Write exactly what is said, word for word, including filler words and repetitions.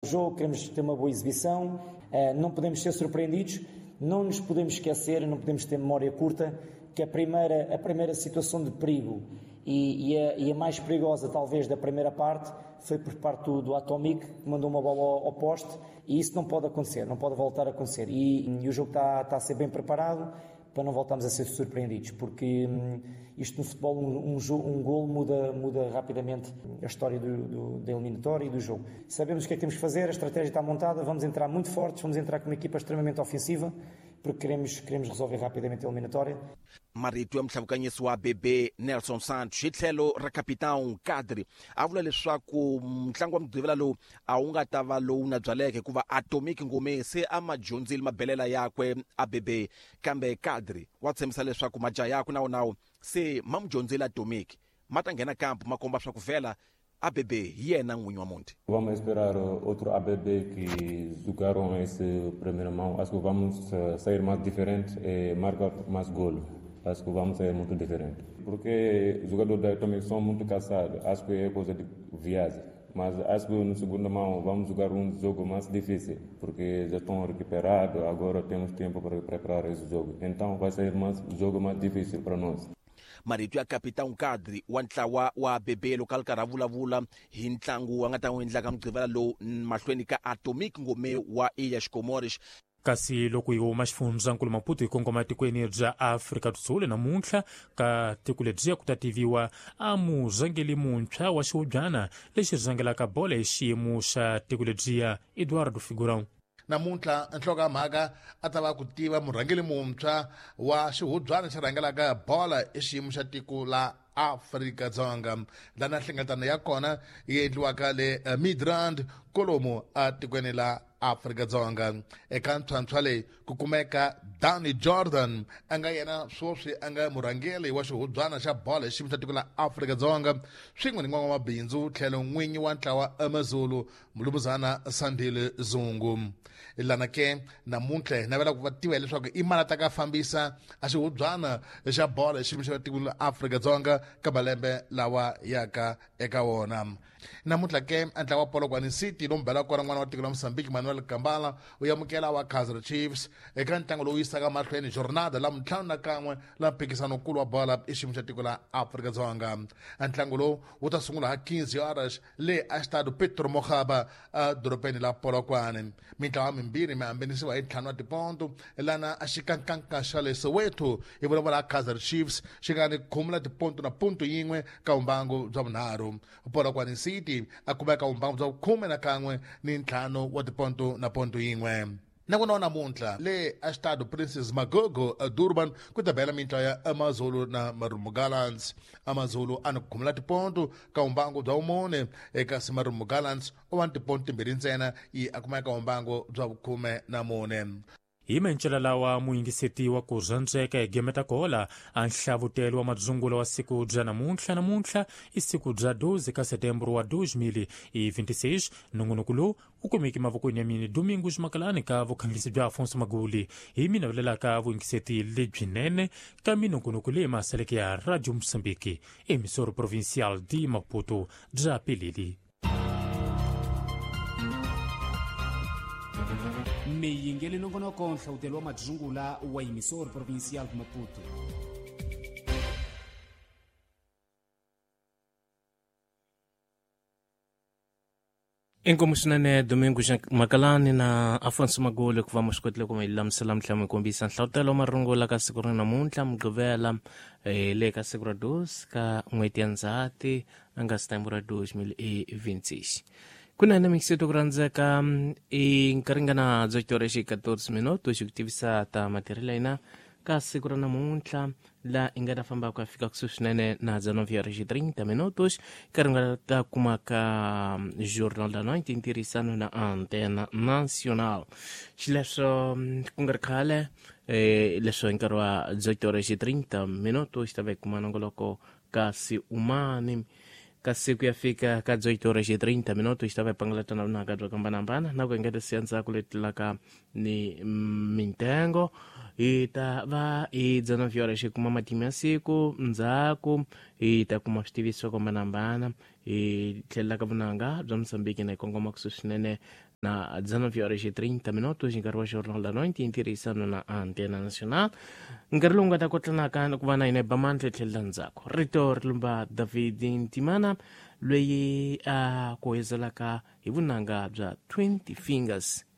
Jogo, queremos ter uma boa exibição, não podemos ser surpreendidos, não nos podemos esquecer, não podemos ter memória curta, que a primeira, a primeira situação de perigo e, e, a, e a mais perigosa talvez da primeira parte foi por parte do, do Atomic, que mandou uma bola ao, ao poste, e isso não pode acontecer, não pode voltar a acontecer. E, e o jogo está, está a ser bem preparado para não voltarmos a ser surpreendidos, porque hum, isto no futebol, um, um, um golo muda, muda rapidamente a história do, do, da eliminatória e do jogo. Sabemos o que é que temos que fazer, a estratégia está montada, vamos entrar muito fortes, vamos entrar com uma equipa extremamente ofensiva, porque queremos, queremos resolver rapidamente a eliminatória. Marito ya muhlawukanyisi wa B B Nelson Santos hi tlhelo ra capitão Kadri a vula leswaku ntlangu wa mugqivela lowu a wu nga ta va lowu na byaleke hikuva Atomic Ngome se a ma dyondzile mabelela yakwe a B B, kambe Kadri wa tshembisa leswaku majaha yakwe na wona se ma mu dyondzile Atomic, ma ta nghena kampu ma komba swa ku vhela A B B hi yena n'winyi wa muti. Vamos esperar outro A B B que jogaram esse primeiro mão. Acho que vamos sair mais diferente e marcar mais gol. Acho que vamos sair muito diferente. Porque os jogadores da também são muito cansados. Acho que é coisa de viagem. Mas acho que no segundo mão vamos jogar um jogo mais difícil, porque já estão recuperados, agora temos tempo para preparar esse jogo. Então vai ser mais jogo mais difícil para nós. Marito ya capitão Kadri wa ntlawa wa B B loko a ri karhi a vulavula hi ntlangu a nga ta n'wi endlaka mugqivela lowu mahlweni ka Atomic Ngome wa Ilhas Comores. Kasi loko hi huma xifundzankulu Maputo hi kongoma etikweni bya Afrika do Sul, namuntlha ka tiko lebyiya ku ta tiviwa a murhangeli muntshwa wa xihubyana lexi rhangelaka bolo hi xiyimo xa tiko lebyiya, Eduardo Figurão. Namuntlha nhlokomhaka a ta va ku tiva murhangeli muntshwa wa xihubyana xi rhangelaka bola i xiyimo xa tiko la Afrika-Dzonga, lana nhlengeletano ya kona yi endliwaka le Midrand kolomu atikweni la Afrika-Dzonga. Eka ntlhantlha leyi ku kumeka Danny Jordan, a nga yena sweswi a nga murhangeri wa xihubyana xa bolo hi xiyimo xa tiko la Afrika-Dzonga, swin'we ni n'wan'wamabindzu tlhelo n'winyi wa ntlawa Amazulu, mulumuzana Sandile Zungu. Lana ke namuntlha hi navela ku va tiva leswaku i mali a ta ka fambisa a xihubyana xa bolo hi xiyimo xa tiko la Afrika-Dzonga ka malembe lawa yaka eka wona. Namuntlha ke a ntlawa wa Polokwane City lomu bela kona n'wana wa tiko la Mozambique Manuel Kambala u amukela wa Kaizer Chiefs eka ntlangu lowu yisaka mahlweni jornada la ntlhanu na kan'we la mphikizano-nkulu wa bola i xiyimo xa tiko la Afrika-Dzonga. Ntlangu lowu wu ta sungula ha quinze horas le a Estado Petro Mokgaba edorobeni la Polokwane. Mintlawa mimbirhi mi hambanisiwa hi ntlhanu wa tiponto, lana a xikankanka xa le Soweto hi vulavula Kaizer Chiefs xi nga ni khume la tiponto na punto yin'we ka vumbangu bya vunharhu. Polokwane City a kumeka vumbangu bya khume na kan'we ni ntlhanu wa tiponto na ponto yin'we. Nakona namuntlha le Estado Princess Magogo Durban ku ta bela mintlawa ya Amazulu na Marumo Gallants. Amazulu a ni khumula tiponto ka vumbangu bya vumune, kasi Marumo Gallants u va ni tiponto timbirhi ntsena, yi a kumeka vumbangu bya vukhume na mune. Hi mencela lawa muyingiseti wa ku rhandzeka hi gemeta kola a nhlavutelo wa madzungulo wa siku bya namuntlha. Namuntlha i siku bya doze ka setembro wa dois mil e vinte e seis. Nongonoko lowu wu kumeki mavokweni ya mini Domingos Makalani ka vukhanglisi bya Afonso Maguli. Hi mina vulelaka vuyingiseti lebyinene ka minongonoko leyi masaleke ya Radio Moçambique, emissora provincial de Maputo. Bya pilili. Miyingeli nongonoko nhlawutelo wa madzungula wa emissora provincial de Maputo. Inkomu swinene Domingo Makalani na Afonso Magoli ku va mi swi kotile ku mi lulamisela mi tlhela mi kombisa nhlavutelo wa marungula ka siku ra namuntlha Mugqivela, eh, le ka siku ra doze ka n'hweti ya Ndzhati a nga setembro ra dois mil e vinte e seis. Kunene mixeto ku rhandzeka, i nkarhi nga na dzoito horas e catorze minutos xi ku tivisa ta matirhelo ya hina ka siku ra namuntlha, la i nga ta famba ku ya fika kusuhi swinene na dezenove horas e trinta minutos, nkarhi nga ta kuma ka Jornal da Noite ntirhisano na Antena Nacional. Xileswo ku nga ri khale, eh, leswo hi nkarhi wa dezoito horas e trinta minutos ta va hi kuma nongoloko kasi umani. Kasi ku ya fika ka dezoito horas e trinta minutos ta va hi pangalatana vunaka byo hambanahambana na ku engeta siya ndzhaku leti tlulaka ni mintengo. Hi ta va hi dezenove horas hi kuma matimu ya siku, ndzhaku hi ta kuma switiviso swo hambanahambana, hi tlhelela ka vunanga bya Mozambique na hi kongoma kusuhi swinene. Na dezenove horas e trinta minutos nkarhi wa Jornal da Noite i ntirhisano na Antena Nacional. Nkarhi lowu nga ta kotlanaka ku va na hina ba mandla tlhelela ndzhaku. Rito ri lumba David Ntimana loyi a ku hezelaka hi vunanga bya twenty Fingers.